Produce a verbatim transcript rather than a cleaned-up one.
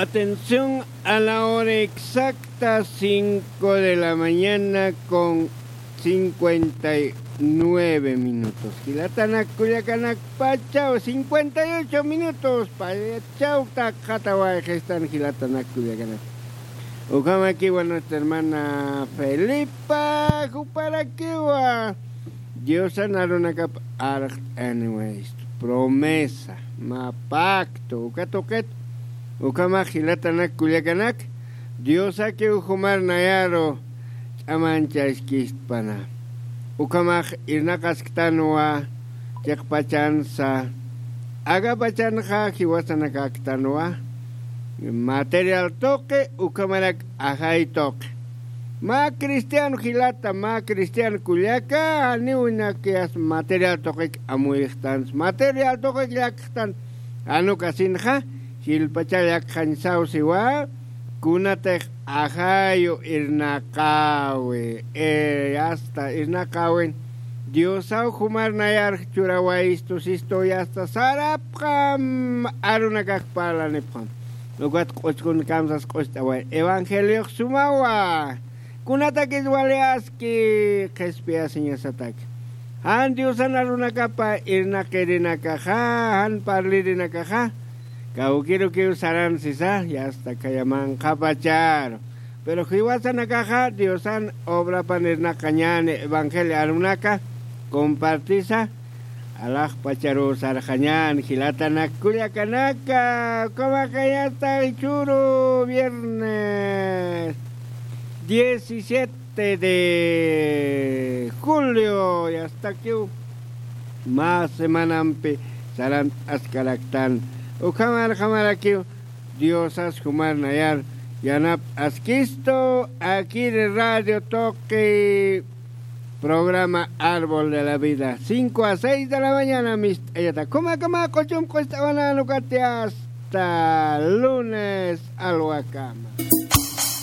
Atención, a la hora exacta, cinco de la mañana con cincuenta y nueve minutos. Jilatanak kullakanak pachaw, cincuenta y ocho minutos, pachaw takxatawayxistan jilatanak kullakanak. Ukhamakiwa nuestra hermana Felipa, juparakiwa. Diosan arunakap arxt'aniwa esto, promesa, mä pacto, uka tuqit, ukhamax jilatanak kullakanak, Diosakiw jumar nayaru ch'amanchaskistpana. Ukhamax irnaqasktanwa chiqpachansa, akapachanxa jiwasanakäktanwa, material tuqi, ukhamarak ajay tuqi. Mä cristiano jilata, mä cristiano kullaka, janiw inak yasta material tuqik amuyxtansa, material tuqik llakxtan, jan ukasinxa, jilpachar llakxañ saw siwa, kunatix ajayu irnaqäwi, e, yasta irnaqäwin, Diosaw jumar nayar churawayistu sistu, yasta sarapxam arunakax parlanipxam. Ukat q'uchkun kamsas q'ust'away. Evangeliox sumawa. Kunatakis wali aski qhispiyasiñasatak. Jan Diosan arunakapa irnaqirinakaxa, jan parlirinakaxa, kawkirukiw saran sisa, yasta khaya manqhapacharu. Pero jiwasanakaxa Diosan obrapan irnaqañäni, evangelio arunaka compartisa, alaxpacharu sarxañän jilatanak kullakanaka, ukhamaxa yasta jichhüru viernes diecisiete de julio, yastakiw mä semanampi sarant'askaraktan. Ukhamarjamarakiw Diosas jumar nayar yanapt'askistu, akiri radio tuqi programa Árbol de la Vida, cinco a seis de la mañana mist'ayata. Ukhamakamä q'uchum q'ust'awanän ukati, hasta lunes alwakama.